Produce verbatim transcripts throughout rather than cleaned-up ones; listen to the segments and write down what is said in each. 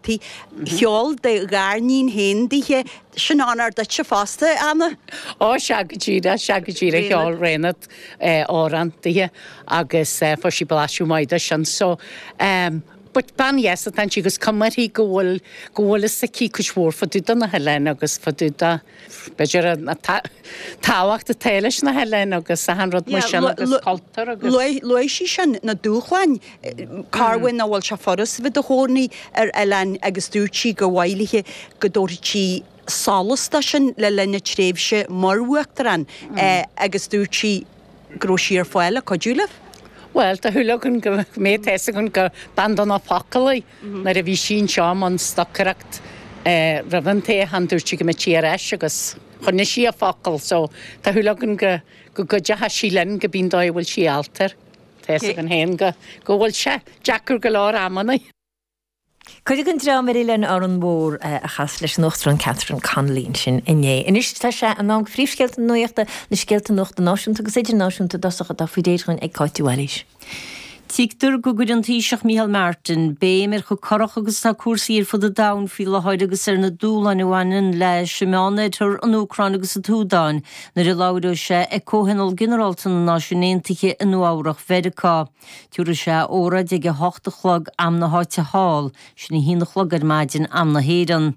Cheol do ghariníon féin dithe sin onóir duitse fosta, Anna? Ó sea go díreach, sea go díreach cheol Raonaid amhrán dithe agus fuair sí blaiseadh maith de sin so um, but bean dheas atá inti agus cuma uirthi go bhfuil go bhfuil fhios aici cuid mhór fá dtaobh de na hoileáin agus fá dtaobh de b'fhéidir an tábhacht atá leis na hoileáin agus achan rud mar sin agus cultúr agus. Luaigh sí sin na dúshláin carhfuin a bhfuil sé furast bheith i do chónaí ar oileán agus dúirt sí gur mhaith léi go dtabharfadh sí solas dó sin le linn a tréimhse mar uachtarán agus dúirt sí go raibh sí ar fáil le cuidiú libh. Bhuel, tá shúil againn go mbeidh tá fhios againn gur bean dona focal í. Nuair a bhí sí anseo i mbun stocaireacht roimh an toghchán dúirt sí go mbeadh sí ar ais agus choinnigh sí a focal so tá shúil againn go go gcuideoidh sí linn go bíonn dóigh a bhfuil sí ábalta. Tá fhios againn féin go go bhfuil sé deacair go leor amanna. Cuireadh an dream ar Oileán Árann Mhór a chas leis an Uachtarán Catherine Connolly ansin inné. Anois tá sé in am phríomhscéalta na nuachta, na scéalta nuachta náisiúnta agus idirnáisiúnta i dtosach atá faoi réir againn ag Cáit Mhaoilís. Tuigtear go gcuireann an Taoiseach Micheál Martin béim ar chomh corrach agus atá cúrsaí ar fud an domhain faoi láthair agus ar na dúshláin a bhaineann leis an Meánoirthear, an Úcráin agus an tSúdáin nuair a labhróidh sé ag Comhthionól Ginearálta na Náisiún Aontaithe i Nua-Eabhrac Mheiriceá. Tabharfaidh sé óráid ag a hocht a chlog am na háite thall, sin a haon a chlog ar maidin am na hÉireann.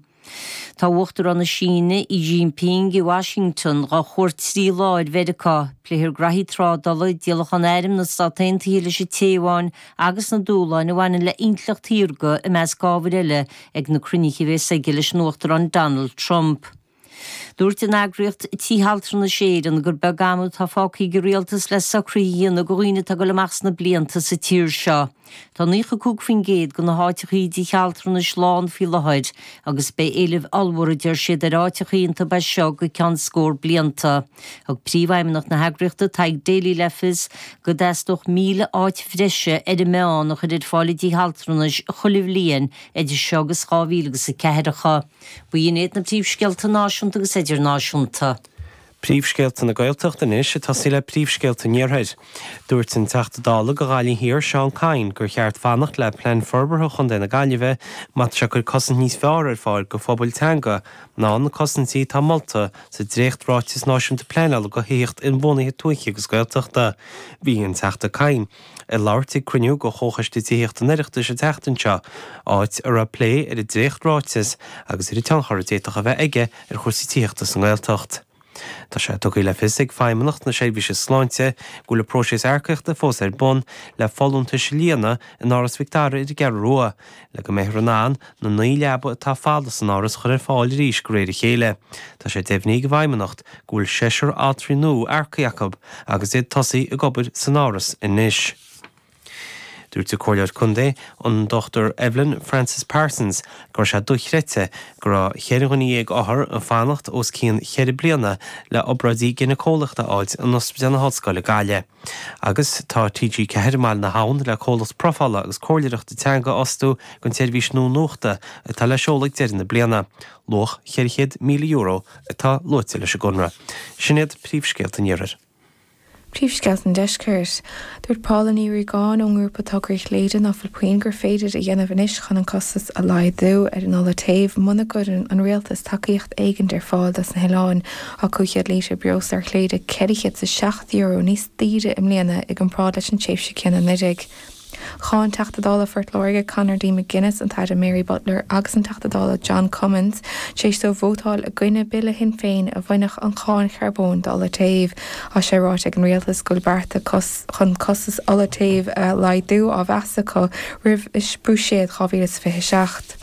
Tá Uachtarán na Síne Xi Jinping i Washington dá chuairt trí lá ar Mheiriceá, pléifear graithí trádála, díolachán airm na Stát Aontaithe leis an Téaváin agus na dúshláin a bhaineann le intleacht shaorga i measc ábhair eile ag na cruinnithe a bheas aige leis an Uachtarán Donald Trump. Dúirt an eagraíocht Tithe Altranais Éireann gur beag am atá fágtha ag an rialtas le socruithe a dhéanamh do dhaoine atá ag dul amach sna blianta sa tír seo. Tá naocha cúig faoin gcéad de na háiteachaí i dtithe altranais lán faoi láthair agus beidh éileamh ollmhór a deir siad ar áiteachaí iontu as seo go ceann scór blianta. Thug príomhfheidhmeannach na heagraíochta Tadhg Daly le fios go dteastódh míle áit bhreise ar an meán a chur ar fáil i dtithe altranais chuile bhliain idir seo agus dhá mhíle agus a ceathracha. B'in iad na príomhscéalta náisiúnta agus idirnáisiúnta. Príomhscéalta na Gaeltachta anois ag tosaí le príomhscéalta an Iarthair. Dúirt an Teachta Dála do Ghaillimh Thiar Seán Kyne gur cheart fanacht le plean forbartha Chontae na Gaillimhe má tá sé ag cur cosaint níos fearr ar fáil do phobail teanga ná na cosaintí atá molta sa dréacht-ráiteas náisiúnta pleanála do thithíocht inbhuanaithe tuaithe agus Gaeltachta. Bhí an Teachta Kyne ag labhairt ag cruinniú de Chomhchoiste Tithíochta an Oireachtais an tseachtain seo, áit a raibh plé ar an dréacht-ráiteas agus ar an tionchar a d'fhéadfadh a bheith aige ar chúrsaí tithíochta sa nGaeltacht. Tá sé tugtha le fios ag Feidhmeannacht na Seirbhíse Sláinte go bhfuil an próiseas earcaíochta fós ar bun le folúntais a líonadh in Áras Mhic Dara ar an gCeathrú Rua, le go mbeifear in ann na naoi leaba atá folamh san áras a chur ar fáil arís de réir a chéile. Tá sé deimhnithe ag an bhFeidhmeannacht go bhfuil seisear altraí nua earcaithe acu agus iad ag tosaí ag obair san áras anois. Dúirt an Comhairleoir Contae, an Dochtúir Evelyn Frances Parsons, go raibh sé dochreidte go raibh cheithre dhuine dhéag othar ag fanacht os cionn cheithre bliana le obráidí gineaceolaíochta a fháilt in Ospidéal na hOllscoile Gaillimh. Agus tá T G ceathair i mBaile na hAbhann le comhlacht profála agus comhairleoireachta teanga a fhostú don tseirbhís nua nuachta atá le seoladh ag deireadh na bliana. Luach cheithre chéad míle euro atá luaite leis an gconradh. Sin iad príomhscéalta an Iarthair. Príomhscéalta an Deiscirt. Dúirt Paula Ní Riagáin ón ngrúpa Tograí Chléire ná fuil puinn gur féidir a dhéanamh anois chun an costas a laghdú ar an ola téimh muna gcuireann an rialtas tacaíocht éigin ar fáil dos na hoileáin. Tá cúig chéad lítear breosla ar Chléire ceithre chéad is a seacht euro níos daoire i mbliana i gcomparáid leis an tréimhse céanna anuraidh. Cháin Teachta Dála Phort Láirge Conor D. McGuinness, an tAire Mary Butler agus an Teachta Dála John Cummins tar éis dóibh vótáil i gcoinne bille Shinn Féin a bhainfeadh an cháin charbóin d'ola téimh. Tá sé ráite ag an rialtas go bhfuil bearta chun costas ola téimh a laghdú á mheas acu roimh Bhuiséad dhá mhíle is fiche seacht.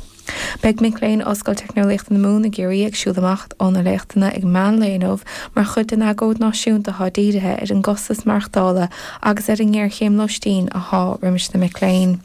Beidh mic léinn Ollscoil Teicneolaíochta na Mumhan i gCiarraí ag siúl amach óna léachtanna ag meán lae inniu mar chuid den agóid náisiúnta atá dírithe ar an gcostas maireachtála agus ar an ngéarchéim lóistín atá roimis na mic léinn.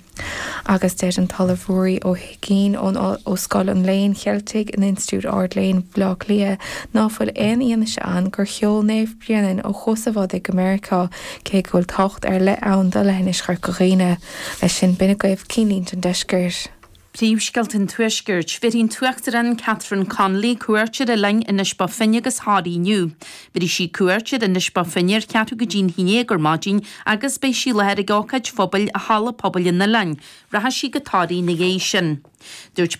Agus deir an tOllamh Ruairí Ó hUiginn ón ó Scoil an Léinn Cheiltigh in Institiúid Ard-Léinn Bhaile Átha Cliath ná fuil aon fhianaise ann gur sheol Naomh Bréanainn ó Chuas an Bhodaigh go Meiriceá cé go bhfuil tábhacht ar leith ann do leithinis Chorca Dhuibhne. Leis sin b'in agaibh cinnlínte an deiscirt. Príomhscéalta an Tuaiscirt, Bhéarfaidh an tUachtarán Catherine Connolly cuairt ar oileáin Inis Bó Finne agus Thoraí inniu. Bhéarfaidh sí cuairt ar Inis Bó Finne ar cheathrú go dtí'n haon déag ar maidin agus beidh sí i láthair ag ócáid phobail i Halla Pobail an Oileáin. Rachaidh sí go Toraigh ina dhiaidh sin. Dúirt